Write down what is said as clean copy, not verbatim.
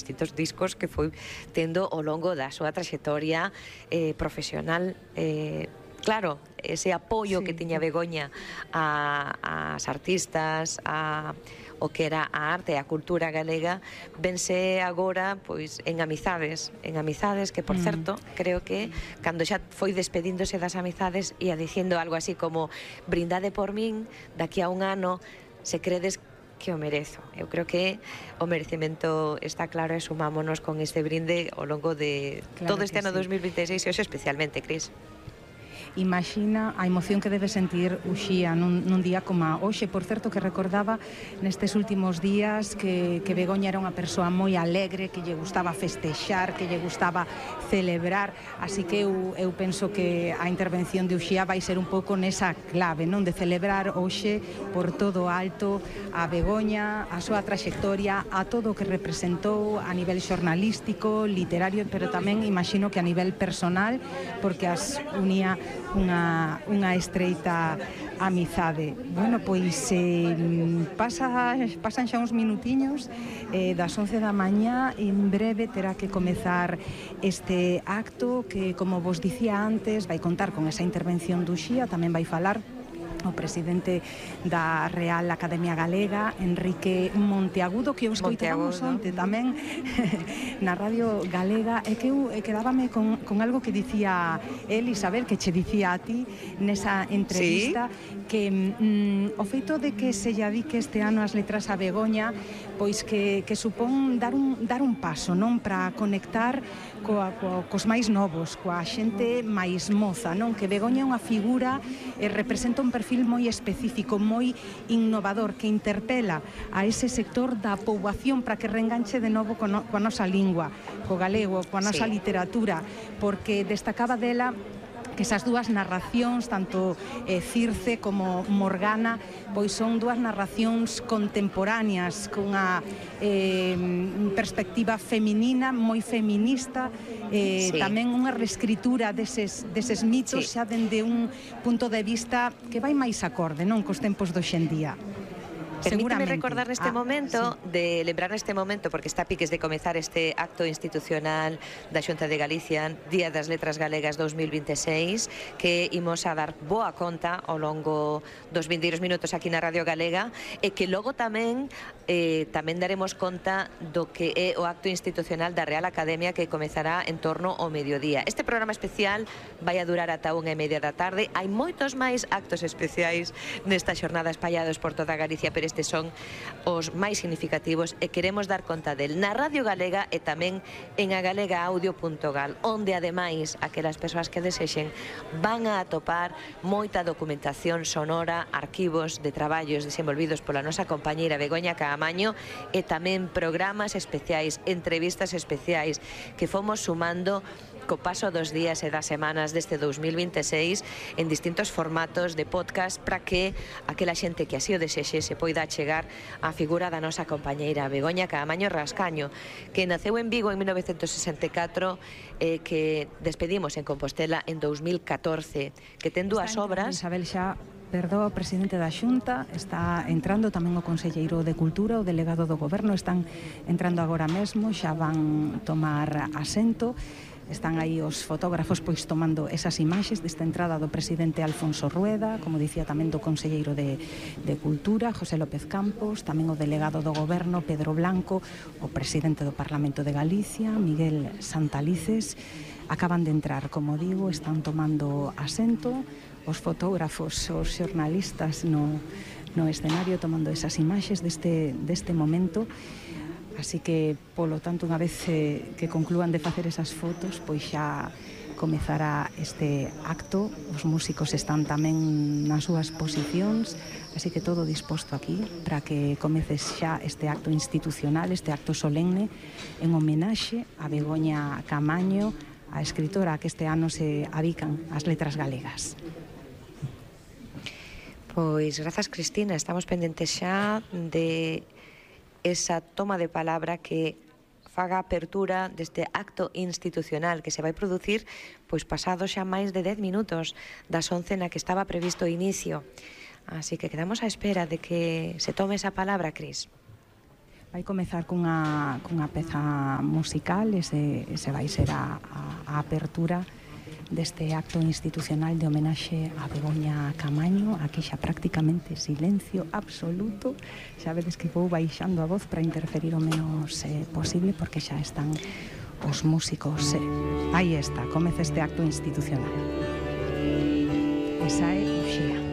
distintos discos que foi tendo ao longo da súa traxectoria profesional. Claro, ese apoio que tiña Begoña ás artistas, o que era a arte e a cultura galega, vense agora pois en amizades que, por certo, creo que cando xa foi despedíndose das amizades ia dicindo algo así como: brindade por min daqui a un ano se credes que o merezo. Eu creo que o merecemento está claro e sumámonos con este brinde ao longo de todo este ano 2026 e hoxe especialmente, Cris. Imagina a emoción que debe sentir Uxía nun día como hoxe. Por certo, que recordaba nestes últimos días que Begoña era unha persoa moi alegre, que lle gustaba festexar, que lle gustaba celebrar, así que eu penso que a intervención de Uxía vai ser un pouco nesa clave, non, de celebrar hoxe por todo alto a Begoña, a súa traxectoria, a todo o que representou a nivel xornalístico, literario, pero tamén imagino que a nivel personal, porque as unía unha estreita amizade. Bueno, pois pasan xa uns minutiños das 11 da mañá. En breve terá que comezar este acto que, como vos dicía antes, vai contar con esa intervención do Uxía. Tamén vai falar o presidente da Real Academia Galega, Enrique Monteagudo, que o escoitamos onte tamén na Radio Galega, e que eu quedábame con algo que dicía el, Isabel, que che dicía a ti nesa entrevista, que o feito de que se lle adique este ano as letras a Begoña, pois que supón dar un paso, non, para conectar cos máis novos, coa xente máis moza, non? Que Begoña é unha figura e representa un perfil moi específico, moi innovador, que interpela a ese sector da poboación para que reenganche de novo coa nosa lingua, co galego, coa nosa literatura, porque destacaba dela que esas dúas narracións, tanto Circe como Morgana, pois son dúas narracións contemporáneas, cunha perspectiva feminina, moi feminista, tamén unha reescritura deses mitos, xa dende un punto de vista que vai máis acorde, non, cos tempos de hoxendía. Permíteme recordar neste momento, de lembrar neste momento, porque está a piques de comezar este acto institucional da Xunta de Galicia, Día das Letras Galegas 2026, que imos a dar boa conta ao longo dos vindeiros minutos aquí na Radio Galega, e que logo tamén daremos conta do que é o acto institucional da Real Academia, que comezará en torno ao mediodía. Este programa especial vai a durar ata 1:30 da tarde. Hai moitos máis actos especiais nesta xornada espallados por toda Galicia, pero estes son os máis significativos e queremos dar conta del na Radio Galega e tamén en agalegaaudio.gal, onde ademais aquelas persoas que desexen van a atopar moita documentación sonora, arquivos de traballos desenvolvidos pola nosa compañeira Begoña Caamaño, e tamén programas especiais, entrevistas especiais que fomos sumando co paso dos días e das semanas deste 2026 en distintos formatos de podcast, para que aquela xente que así o desexe se poida chegar á figura da nosa compañeira Begoña Caamaño Rascaño, que naceu en Vigo en 1964 e que despedimos en Compostela en 2014, que ten dúas obras. Isabel, xa o presidente da Xunta, está entrando tamén o conselleiro de Cultura, o delegado do Goberno, están entrando agora mesmo, xa van tomar asento. Están aí os fotógrafos pois tomando esas imaxes desta entrada do presidente Alfonso Rueda, como dicía tamén do conselleiro de Cultura, José López Campos, tamén o delegado do Goberno, Pedro Blanco, o presidente do Parlamento de Galicia, Miguel Santalices. Acaban de entrar, como digo, están tomando asento, os fotógrafos, os xornalistas no escenario tomando esas imaxes deste momento. Así que, polo tanto, unha vez que conclúan de facer esas fotos, pois xa comezará este acto. Os músicos están tamén nas súas posicións, así que todo disposto aquí para que comeces xa este acto institucional, este acto solemne en homenaxe a Begoña Caamaño, a escritora a que este ano se adican as letras galegas. Pois, grazas, Cristina, estamos pendentes xa de esa toma de palabra que faga a apertura deste acto institucional que se vai producir pois pasado xa máis de 10 minutos das 11 na que estaba previsto o inicio. Así que quedamos á espera de que se tome esa palabra, Cris. Vai comezar cunha peza musical, ese vai ser a apertura deste acto institucional de homenaxe a Begoña Camaño. Aquí xa prácticamente silencio absoluto, xa vedes que vou baixando a voz para interferir o menos posible, porque xa están os músicos. Aí está, comeza este acto institucional. Esa é Uxía.